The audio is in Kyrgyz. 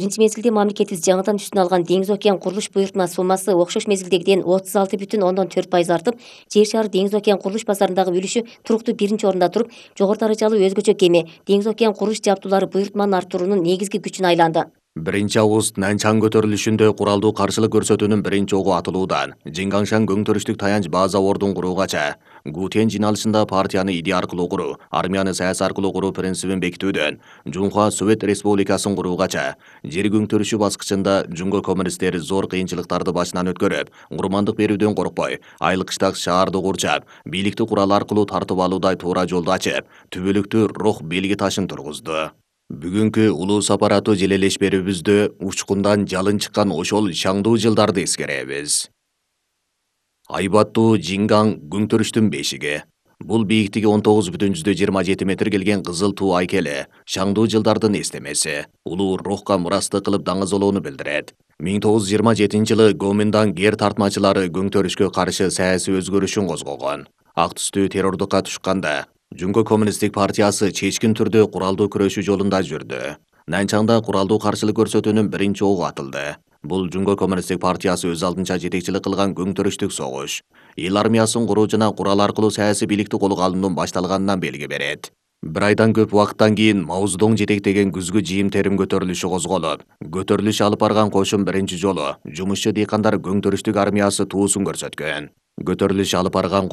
Биринчи мезгилде мамлекетибиз жаңыдан үстүнө алган Деңиз океан курулуш буйртма суммасы окшош мезгилдегиден 36,4% артып, Жер шары Деңиз океан курулуш базарындагы үлүшү туруктуу биринчи орунда туруп, жогору даражалуу өзгөчө кеме Деңиз океан курулуш жабдуулары буйртманын артуруунун негизги күчүнө айланды. 1-август Нанчан көтөрүлүшүндө куралдуу каршылык көрсөтүүнүн биринчи огу атылуудан Жиңгаңшан көңтөрүштүк таянч база ордун куруугача, Гутен жиналышында партияны идея аркылуу куруу, армияны саясий аркылуу куруу принцибин бекитүүдөн, Жунхва Совет Республикасын куруугача, жер көңтөрүшү баскычында Жунго коммунисттери зор кыйынчылыктарды башынан өткөрүп, курмандык берүүдөн коркпой, айыл-кыштак шаарды курчап, бийликти курал аркылуу тартып алуудай туура жолду ачып, түбөлүктүү рух белги ташын тургузду. Бүгүнкү улуу сапараттуу желелешперибизде учкундан жалын чыккан ошол шаңдуу жылдарды эскеребиз. Айбаттуу Жиңгаң көңтөрүштүн бешиги. Бул бийиктиги 19,27 метр келген кызыл туу айкели, шаңдуу жылдардын эстемеси, улуу рухка мурастык кылып даңазолоону билдирет. 1927-жылы Гоминдан гер тартмачылары көңтөрүшкө каршы саясий өзгөрүшүн козгогон. Ак түстүү террордукка тушканда, Жунго коммунисттик партиясы чечкин түрдө куралдуу күрөшүү жолунда жүрдү. Нанчаңда куралдуу каршылык көрсөтүүнүн биринчи огу атылды. Бул Жунго коммунисттик партиясы өз алдынча жетекчилик кылган көңтөрүштүк согуш. Эл армиясын куруу жана курал аркылуу саясий бийликти колго алуунун башталганынан белги берет. Бир айдан көп убакыттан кийин Маоздоң жетектеген күзгү жыйым терим көтөрүлүшү козголуп, көтөрүлүш алып барган кошун биринчи жолу жумушчу дыйкандар көңтөрүштүк армиясы туусун көрсөткөн. Көтөрүлүш алып барган